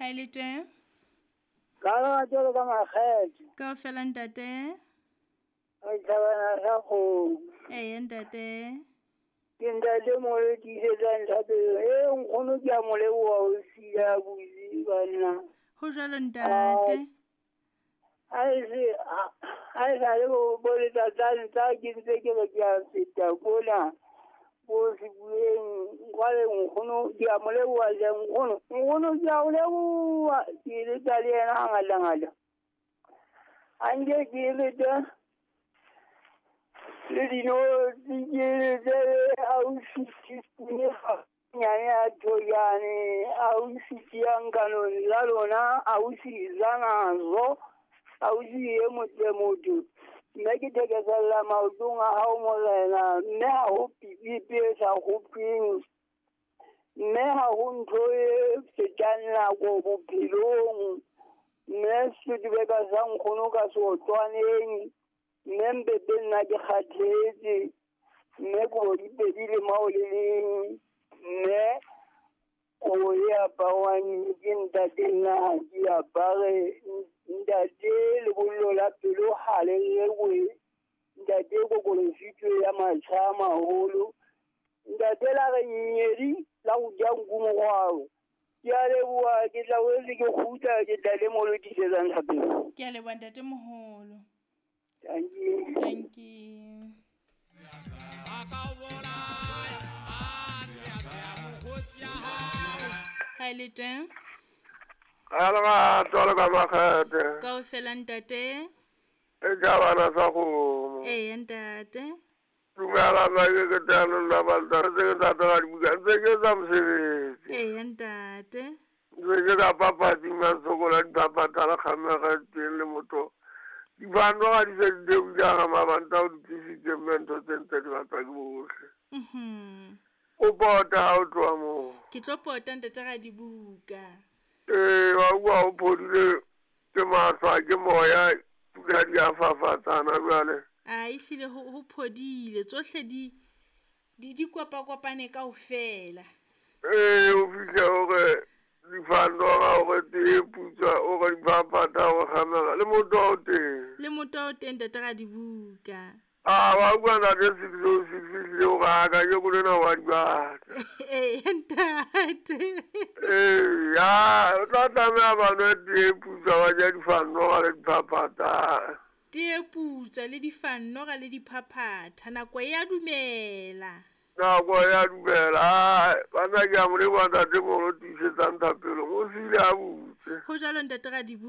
Ha e le teng? Ka lerato le ka makgethe. Kaofela ntate. Re thabana sa kgomo. Eya ntate. Ke ntate moholo tiisetsang thapelo. E nkgono ke a mo leboha o siya buzi banna. Ho jwalo ntate. Ha e sale bo letsatsane tsa ke ntse ke re ke a feta kona bo sebueng jwale nkgono ke a mo leboha hle nkgono. Nkgono ke a o leboha ke eletsa le yena hangata-ngata. Ha nke ke eletse le dinotshi ke eletse le ausi teaspoon e nyane ya thojane, ausi tiyang kanong la lona, ausi Zanazo, ausi e motle motho. Mme ke thekesella maotong a hao morena, mme ha ho pipipi e sa kgopeng, mme ha ho ntho e fetang nako bophelong. Mme setubeka sa nkgono ka seotlwaneng, mme mpete nna ke kgathetse, mme kobo di pedi le mao le leng, mme kobo e aparwang ke ntate nna ha ke apare. Ntate lebollo la pelo ha le rekwe, ntate kokolositwe ya matjha a maholo, ntate la re nyedi la ho ja nku morwalo. Ke a leboha, ke tla boetse ke kgutla, ke tla le mo lo tiisetsang thapelo. Ke a leboha ntate moholo. Thank you. Thank you. Ha e le teng? Ka lerato le ka makgethe. Kaofela ntate. E ja bana sa kgomo. Eya ntate. Dumela nna ke ke tano nna balta ntse ke ntate ga dibuka ntse ke etsa mosebetsi. Eya ntate. Ntse ke ka papatsing ma sokola diphaphatha le kgamega teng le motho. Dibano ga di se di theohile ga mabanta o di tlisitse mme ntho tse ntse di ratwa ke bohle. O pota ha o tloha moo. Ke tlo pota ntate ga dibuka. Ee, wa utlwa o phodile ke mahlwa ke moya pula di a fafatsana jwale. A ehlile ho phodile tsohle di kopakopane kaofela. Ee, o fihle hore difandora hore tee putswa hore diphaphatha hore kgamela le motho o teng. Le motho o teng ntate ga dibuka. A wa utlwa ntate 606 fihlile hore a kajeko lena wa di batla. Ee ntate. Ee, ya o tla tlameha ba nwe tee putswa ba ja difandora le diphaphatha. Tee putswa le difandora le diphaphatha nako ya dumela. Nako ya dumela. Bana ke a mo leboha ntate moholo tiisetsang thapelo. O siile a butse. Ho jwalo ntate ga dibuka.